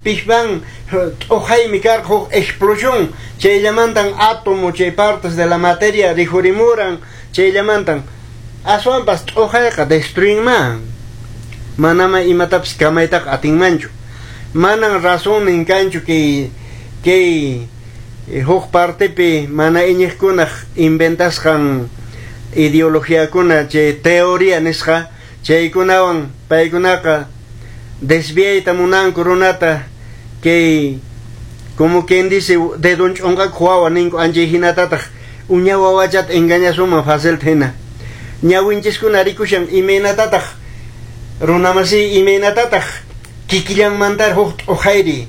Big Bang t'uhaymi karqa, huk explosión, chayllamantan átomo, chay partes de la materia rikhurimuran, chayllamantan. Aswanpas t'uhayqa destruinman, manama imatapis kamaytaqa atinmanchu. Manan razonnin kanchu kay huk partepi mana iñiqkunaq inventasqan ideologiakuna, chay teoría nisqa, chaykunawan paykunaqa desviayta munanku runata. Kay, como quien dice, dedon ch'unqakuq wawa ninku, anchay hinatataq uña wawachata engañasuman facilta hina. Ñawinchiskuna rikushan imaynatataq, runamasi, imaynatataq kikillanmantar huk t'uhayri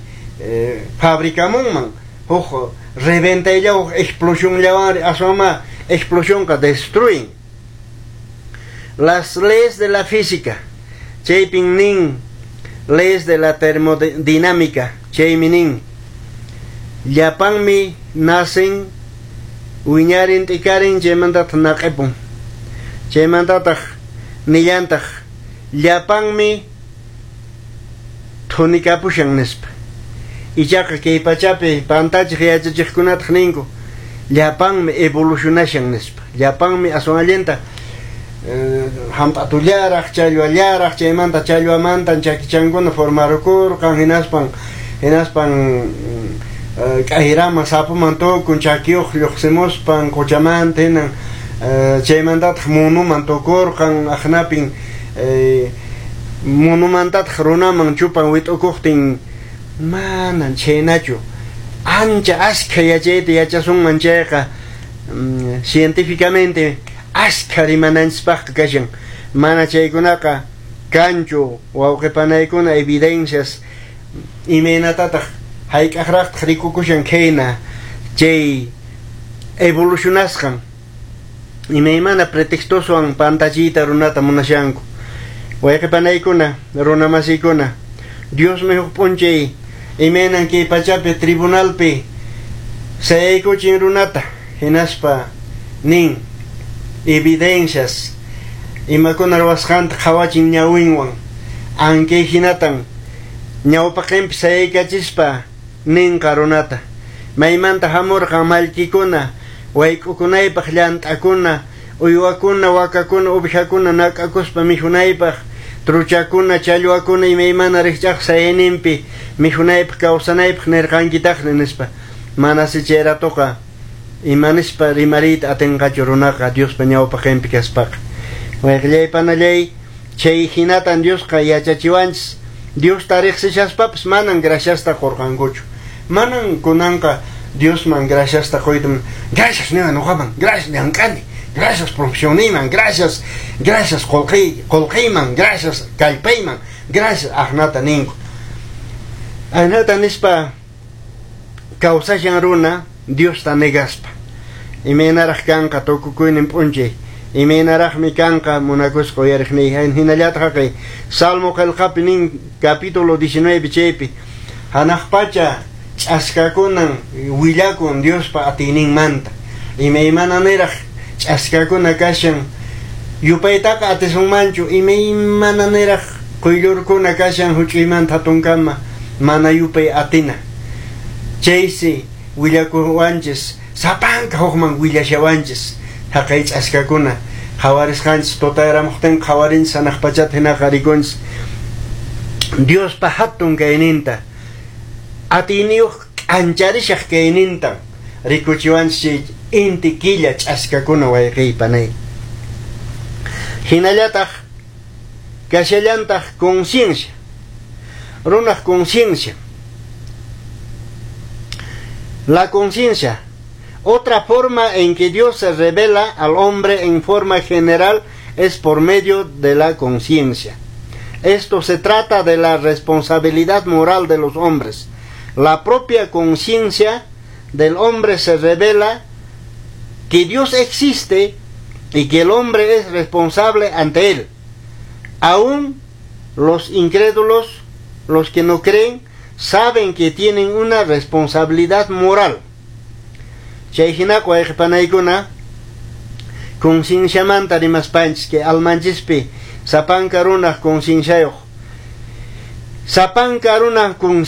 fabricamunman, huk reventaylla, huk explosionllawan. Aswanma explosionqa destruyen. Las leyes de la física, chaypin nin, leyes de la termodinámica, chaymi nin: llapanmi nacen, wiñarin, t'ikarin, chaymantataq naq'ipun. Chaymantataq nillantaq llapanmi thunikapushan nispa. Ichaqa kay pachapi pantachiq yachachiqkunataq ninku llapanmi evolucionashan nispa, llapanmi aswan allinta hamp'atullaraq, challwallaraq, chaymanta challwamantan chakichankuna formarukurqan, hinaspan k'ayraman, sapuman tukun, chakiyuq lluqsimuspan quchamanta hinan, chaymantataq munuman tukurqan, aqnapin munumantataq runaman chupan wit'ukuqtin. Manan chhaynachu. Ancha askha yachayta yachasunman chayqa, científicamente askha rimananchispaqqa kashan. Mana chaykunaqa kanchu, wawqipanaykuna, evidencias. Imaynatataq, hayk'aqraqtaq rikukushan khayna chay evolucionasqan? Imaymana pretextoswan pantachiyta runata munashanku. Wayqipanaykuna, runamasiykuna, Diosmi huk p'unchay imaynan kay pachapi tribunalpi sayaykuchin runata, hinaspa nin evidencias, imakuna ruwasqanta qhawachin ñawinwan, ankay hinatan ñawpaqinpi sayaykachispa ninqa runata: maymanta hamurqan mallkikuna, wayk'ukunaypaq llant'akuna, uywakuna, wakakuna, uvijakuna nak'akuspa mikhunaypaq, truchakuna, challwakuna, imaymana rikch'aq sayayninpi mikhunaypaq, kawsanaypaq nirqankitaqmi nispa. Manasi chay ratuqa imanispa rimariyta atinqachu runaqa Diospa ñawpaqinpi kaspaqa. Wayqillay, panallay, chay hinatan Diosqa yachachiwanchis. Diosta riqsishaspapas manan graciasta qurqankuchu. Manan kunanqa Diosman graciasta quyta, gracias niwan nuqaman, gracias llank'ani, gracias profesionniyman, gracias, gracias qullqiyman, gracias kallpayman, gracias, aqnata ninku. Ahnata nispa kawsashan runa Diosta negaspa. Imaynaraq kanqa tukukuynin p'unchay? Imaynaraqmi kanqa, munakusqa uyariqniy? Hinallataq haqay Salmo qillqapi nin, capítulo 19, chaypi hanaq pacha ch'askakunan willakun Diospa atiyninmanta. Imaymana niraq ch'askakuna kashan, yupaytaqa atisunmanchu. Imaymana niraq quyllurkuna kashan, huch'uymanta hatunkama, mana yupay atina. Chaysi willakuwanchis, sapanka hukman willashawanchis haqay ch'askakuna qhawarisqanchis. Tutayaramuqtin qhawarinchis hanaq pachata, hinaqa rikunchis Diospa hatun kayninta, atiyniyuq k'ancharishaq kayninta rikuchiwanchis chay inti, killa, ch'askakuna, wayqiy, panay. Hinallataq kashallantaq conciencia, runaq conciencia. La conciencia. Otra forma en que Dios se revela al hombre en forma general es por medio de la conciencia. Esto se trata de la responsabilidad moral de los hombres. La propia conciencia del hombre se revela que Dios existe y que el hombre es responsable ante él. Aún los incrédulos, los que no creen, saben que tienen una responsabilidad moral. Chay hinaqa, wayqipanaykuna, concienciamanta rimaspanchis, que almanchispi sapanka runaq concienciayuq, sapanka runaq.